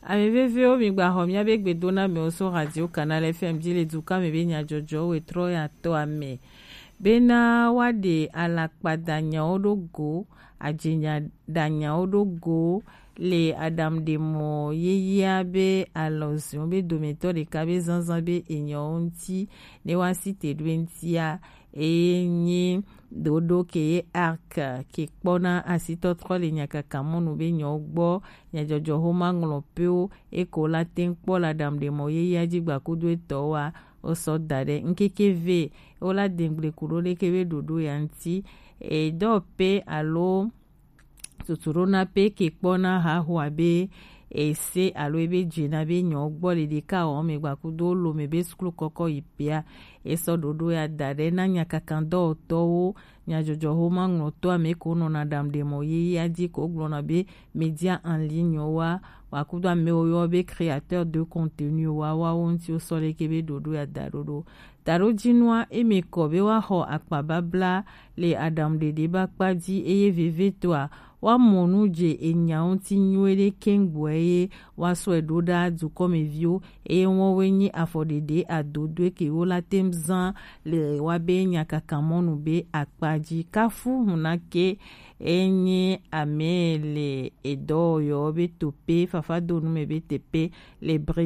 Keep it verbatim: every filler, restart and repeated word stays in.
Ame vevewo, migbaxɔ míabe gbedonamewo so Radio Canal F M ji le dukɔa me be nyajɔjɔwo wetrɔ ya tɔ ame. Bena woaɖe alakpa danyawo ɖo go, ajinya danyawo ɖo go le aɖaŋuɖemɔ yeyea be alɔzɔn be dometɔ ɖeka be zanzan be enyawo ŋuti, ne woasi te ɖo eŋutia, eye nyi ɖoɖo ke ye arc ke kpɔna asitɔtrɔ le nyakakamɔnu be nyawo gbɔ, nyajɔjɔ xoma ŋlɔ pewo, eko la teŋ kpɔ le aɖaŋuɖemɔ yeyea ji gbakudo etɔwoa, wosɔ da ɖe ŋkeke ve, wola dengble ku ɖo leke be ɖoɖo ya ŋuti. Edɔ pe alo tutuɖona pe ke kpɔna haxoa be ese alo ebe dzena be nyɔ gbɔ le ɖeka wɔ me gbakudo lo me be suklu kɔkɔ yi pea, esɔ ɖoɖo ya da ɖe na nyakakan dɔwɔtɔwo, nyajɔjɔ xoma ŋlɔtɔ ame ko nɔna ɖam ɖe mɔ yeyea ji ko gblɔna be média en ligne wa, wakudo amewo yɔ be créateur de contenu wa, wawo ŋuti wosɔ leke be ɖoɖo ya da ɖoɖo. Taɖojinua, eme kɔ be woaxɔ akpa babla le aɖaŋuɖeɖe be akpa ji, eye vevietɔa, woamɔ nu dze enya ŋuti nyuie ɖe keŋgbɔe ye woasɔe ɖo ɖa dukɔmeviwo, eye wɔwoe nyi afɔɖeɖe adodoe ke wola teŋ zan le woabe nyakakamɔnu be akpa ji. Kafu hunake enyi ame le edɔwɔyɔ be tope, fafadonu me be tepe le bri